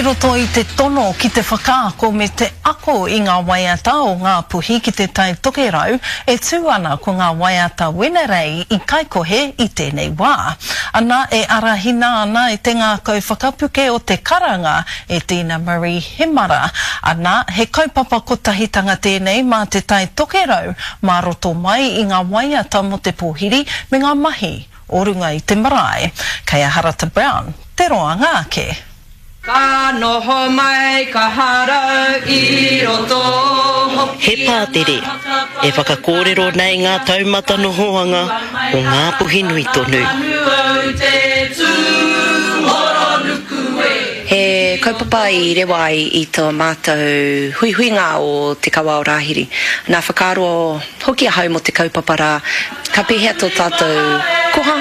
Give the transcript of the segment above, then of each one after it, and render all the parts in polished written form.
I roto i te tono ki te whakaako me te ako i ngā waiata o Ngāpuhi ki Te Tai Tokerau, e tū ana ko ngā waiata Wenerei i Kaikohe i tēnei wā. Ana e arahina ana e te ngākau whakapuke o te karanga e Dina Marie Hemara. Ana, he kaupapa kotahitanga tēnei mā Te Tai Tokerau mā roto mai i ngā waiata mō te pōhiri me ngā mahi o runga i te marae. Kei a Harata Brown te roanga ake. Ka noho mai ka harau i roto hoki. He pātere e whakakōrero nei ngā taumata nohoanga o Ngāpuhi nui tonu. He kaupapa i rewa ai i tō mātou huihuinga o Te Kawa o Rāhiri. Nā whakaaro hoki ahau mō te kaupapa rā, Ka pēhea tō tātou koha,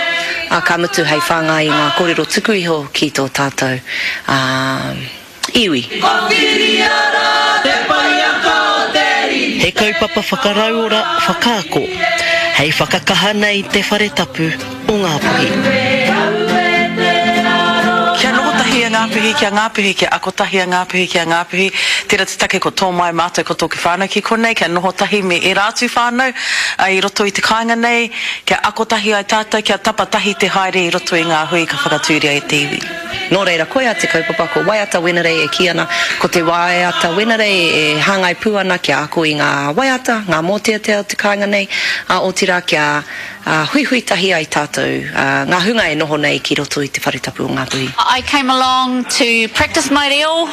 ā, ka mutu hei whāngai i ngā kōrero tuku iho ki tō tātou iwi. Ko Whiria rā te paiaka o te riri. He kaupapa whakarauora, whakaako, hei whakakaha nei te whare tapu o Ngāpuhi. Kia noho tahi a Ngāpuhi ki a Ngāpuhi, kia ako tahi a Ngāpuhi ki a Ngāpuhi. Tērā te take ko tō mai mātou ko tōku whānau ki konei, kia noho tahi me ērā atu whānau i roto i te kāinga nei, kia ako tahi ai tātou, kia tapa tahi te haere i roto i ngā hui ka whakatūria e te iwi. Nō reira, koia te kaupapa, ko Waiata Wenerei e kī ana, ko te waiata Wenerei e hāngai pū ana kia ako i ngā waiata, ngā mōteatea o te kāinga nei, ā, otirā kia huihui tahi ai tātou, ngā hunga e noho nei ki roto i te whare tapu o Ngāpuhi. I came along to practice my reo.